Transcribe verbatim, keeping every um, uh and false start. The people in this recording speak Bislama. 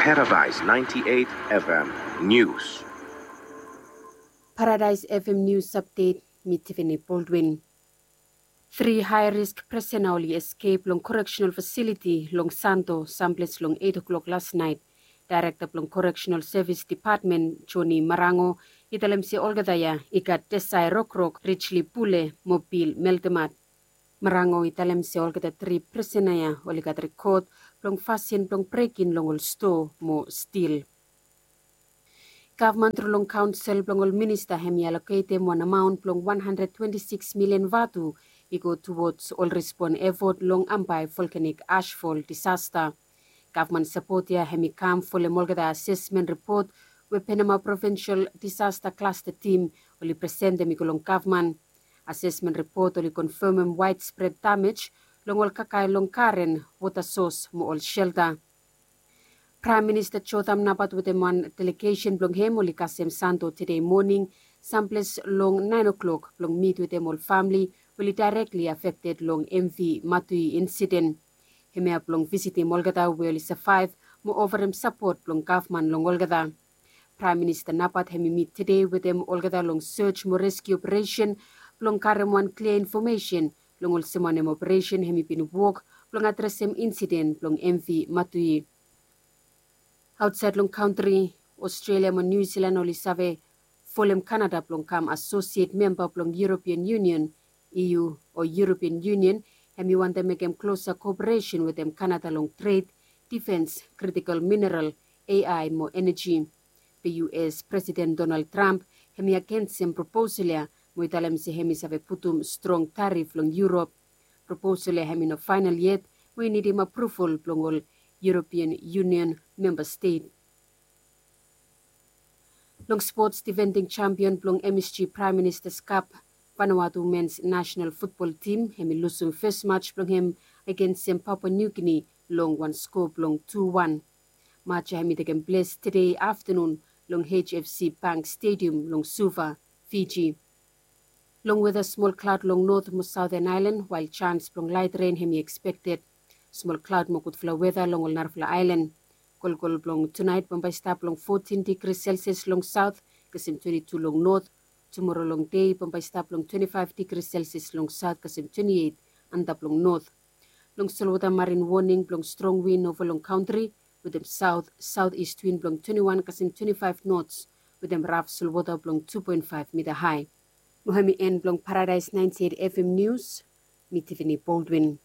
Paradise ninety-eight F M News. Paradise F M News Update, mi Tiffany Baldwin. Tri high risk prisona oli escape long correctional facility long Santo, samples long eight o'clock last night. Director blong Correctional Service Department, Johnny Marango, i talem se olgeta ya i gat Desai Rokrok, Richly Pule mo Bill Meltemat. Marango i talem se olgeta tri prisona ya oli gat rekod blong fasin blong brekin long ol stoa mo stil. Gavman tru long kaonsel blong ol minista hem i aloketem wan amaon blong wan handred twenti sikis milian vatu i go tuwods ol respon efot long Ambae volkanik ashfol disasta. Gavman sapot ya hem i kam folem olgeta asesmen ripot we Penama Provinsel Disasta Klasta Tim oli presentem i go long gavman. Asesmen ripot oli konfamem waedspred damej long ol kakae long garen, wota sos mo ol selta. Praem Minista Jotham Napat wetem wan delegesen blong hem oli kasem Santo tede moning, samples long naen o'klok blong mit wetem ol famle we oli daerekli afekted long M V Matui insiden. Hemia blong visitim olgeta we oli savaev mo ofarem sapot blong gavman long olgeta. Praem Minista Napat hem i mit tede wetem olgeta long sej mo reskiu operesen blong karem wan klia infomesen long olsem wanem operesen hem i bin wok blong adresem insiden blong M V Matui. Aotsaed long kantri, Australia mo New Zealand oli save folem Kanada blong kam asosiet memba blong European Union, E U, o European Union hem i wantem mekem klosa koperesen wetem Kanada long tred, difens, kritikol mineral, A I mo eneji. Be U S Presiden Donald Trump hem i agensem proposal ya mo i talem se hem i save putum strong tarif long Europe. Proposal ya hem i no faenal yet mo i nidim apruval blong ol European Union memba stet. Long spots, difending champion blong M S G Prime Minister's Cup, Vanuatu men's national football team hem i lusum fes match blong hem agensem Papua New Guinea long wan skoa blong tu wan. Match ya hem i tekem ples tede aftanun long H F C Bank Stadium long Suva, Fiji. Long weta, smol klaod long not mo saoten aelan, wael janis blong laet ren hem i ekspekted. Smol klaod mo gudfala weta long ol narafala aelan. Kolkol blong tunaet bambae i stap long fotin digri Celsius long saot kasem twenti tu long not. Tumoro long dei bambae i stap long twenti faef digri Celsius long saot kasem twenti eit antap long not. Long solwota, marin woning blong strong win ova long kantri wetem saot saot ist win blong twenti wan kasem twenti faef nots wetem raf solwota blong tu poen faef mita hae. Mo hem i en blong Paradise naenti eit F M Nius. Mi Tiffany Baldwin.